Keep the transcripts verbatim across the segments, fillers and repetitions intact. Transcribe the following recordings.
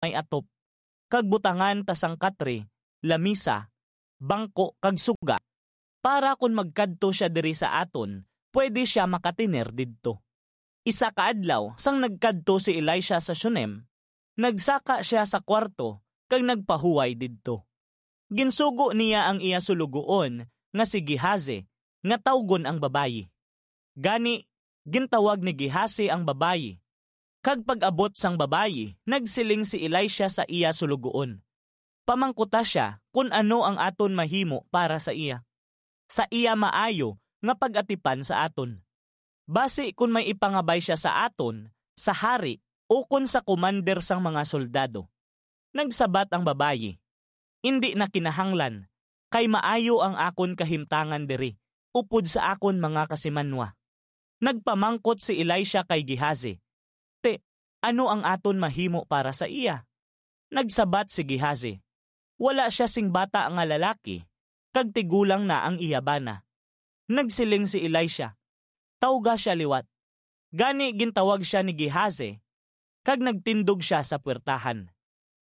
may atop, kag butangan ta sang katre, lamisa, bangko, kag suga, para kon magkadto sia diri sa aton, pwede sia makatener didto. Isa ka adlaw, sang nagkadto si Elisha sa Shunem, nagsaka sia sa kuwarto kag nagpahuway didto. Ginsugo niya ang iya sulugoon nga si Gehazi nga tawgon ang babayi. Gani, gintawag ni Gehazi ang babayi. Kag pag-abot sang babayi, nagsiling si Elisha sa iya sulugoon, "Pamangkuta sia kon ano ang aton mahimo para sa iya, sa iya maayo nga pag-atipan sa aton. Basi kon may ipangabay sia sa aton, sa hari, ukon sa komander sang mga soldado." Nagsabat ang babayi, "Indi na kinahanglan, kay maayo ang akon kahimtangan diri upod sa akon mga kasimanwa." Nagpamangkot si Elisha kay Gehazi, "Ti, ano ang aton mahimo para sa iya?" Nagsabat si Gehazi, "Wala sia sing bata nga lalaki, kag tigulang na ang iya bana." Nagsiling si Elisha, "Tawga sia liwat." Gani gintawag sia ni Gehazi, kag nagtindog sia sa puwertahan.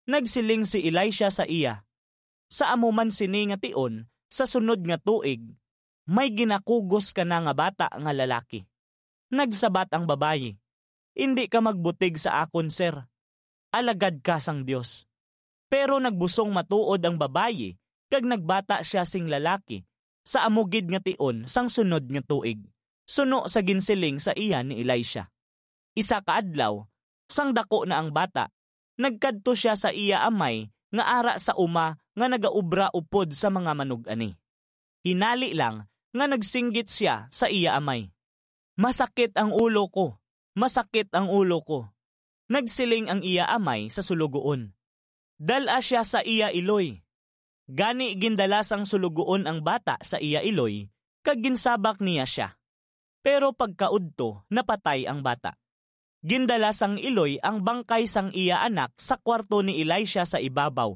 Nagsiling si Elisha sa iya, "Sa amo man sini nga tion, sa sunod nga tuig, may ginakugos ka na nga bata nga lalaki." Nagsabat ang babayi, "Indi ka magbutig sa akon, sir. Alagad ka sang Dios." Pero nagbusong matuod ang babayi, kag nagbata sia sing lalaki sa amo gid nga tion sang sunod nga tuig, suno sa ginsiling sa iya ni Elisha. Isa ka adlaw, sang daku na ang bata, nagkadto sia sa iya amay nga ara sa uma nga nagaobra upod sa mga manug-ani. Hinali lang nga nagsinggit sia sa iya amay, "Masakit ang ulo ko, masakit ang ulo ko." Nagsiling ang iya amay sa sulugoon, "Dal-a sia sa iya iloy." Gani gindala sang sulugoon ang bata sa iya iloy, kag ginsabak niya sia. Pero pagkaudto, napatay ang bata. Gindala sang iloy ang bangkay sang iya anak sa kwarto ni Elisha sa ibabaw,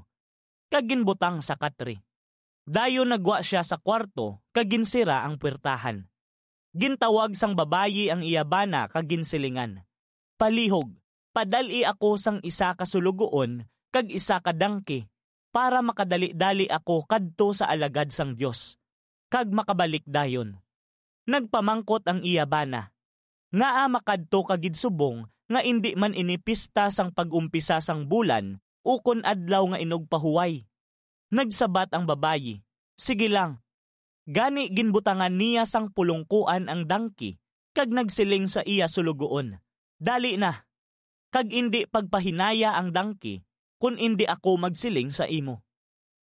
kag ginbutang sa katre. Dayon nagwa sia sa kwarto kag ginsira ang puwertahan. Gintawag sang babayi ang iya bana kag ginsilingan, "Palihog, padal-i ako sang isa ka sulugoon kag isa ka dangki, para makadali-dali ako kadto sa alagad sang Dios, kag makabalik dayon." Nagpamangkot ang iya bana, "Ngaa makadto ka gid subong nga indi man ini pista sang pag-umpisa sang bulan ukon adlaw nga inugpahuway?" Nagsabat ang babayi, "Sige lang." Gani ginbutangan niya sang pulongkoan ang dangki, kag nagsiling sa iya sulugoon, "Dali na, kag indi pagpahinaya ang dangki, kon indi ako magsiling sa imo."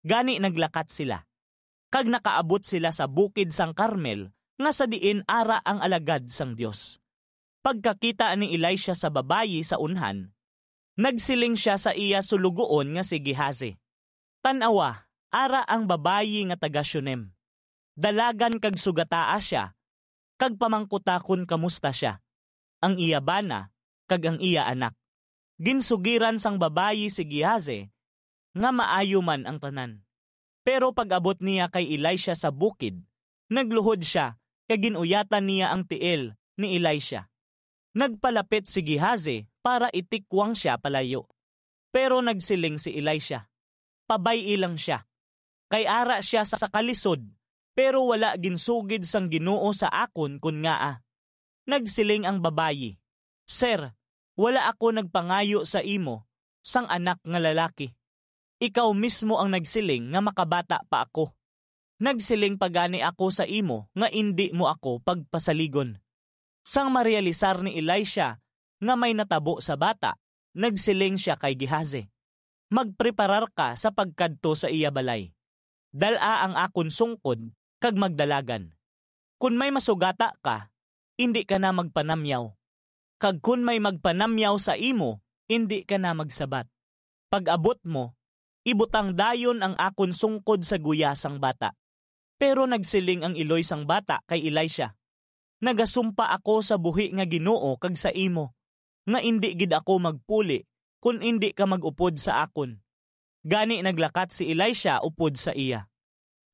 Gani naglakat sila, kag nakaabot sila sa bukid sang Carmel, nga sa diin ara ang alagad sang Dios. Pagkakita ni Elisha sa babayi sa unhan, nagsiling sia sa iya sulugoon nga si Gehazi, "Tan-awa, ara ang babayi nga taga-Shunem. Dalagan kag sugataa sia, kag pamangkuta kon kamusta sia, ang iya bana, kag ang iya anak." Ginsugiran sang babayi si Gehazi nga maayo man ang tanan. Pero pag-abot niya kay Elisha sa bukid, nagluhod sia kag gin-uyatan niya ang tiil ni Elisha. Nagpalapit si Gehazi para itikwang sia palayo. Pero nagsiling si Elisha, "Pabay-i lang sia, kay ara sia sa kalisod, pero wala ginsugid sang Ginoo sa akon kon ngaa." Nagsiling ang babayi, "Sir, wala ako nagpangayo sa imo sang anak nga lalaki. Ikaw mismo ang nagsiling nga makabata pa ako. Nagsiling pa gani ako sa imo nga indi mo ako pagpasaligon." Sang marealisar ni Elisha nga may natabo sa bata, nagsiling sia kay Gehazi, "Magpreparar ka sa pagkadto sa iya balay. Dal-a ang akon sungkod kag magdalagan. Kon may masugata ka, indi ka na magpanamyaw. Kag kon may magpanamyaw sa imo, indi ka na magsabat. Pag-abot mo, ibutang dayon ang akon sungkod sa guya sang bata." Pero nagsiling ang iloy sang bata kay Elisha, "Nagasumpa ako sa buhi nga Ginoo kag sa imo, nga indi gid ako magpuli kon indi ka mag-upod sa akon." Gani naglakat si Elisha upod sa iya.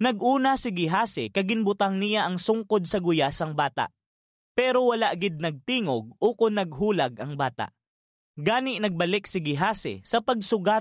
Nag-una si Gehazi kag ginbutang niya ang sungkod sa guya sang bata, pero wala gid nagtingog ukon naghulag ang bata. Gani nagbalik si Gehazi sa pagsugat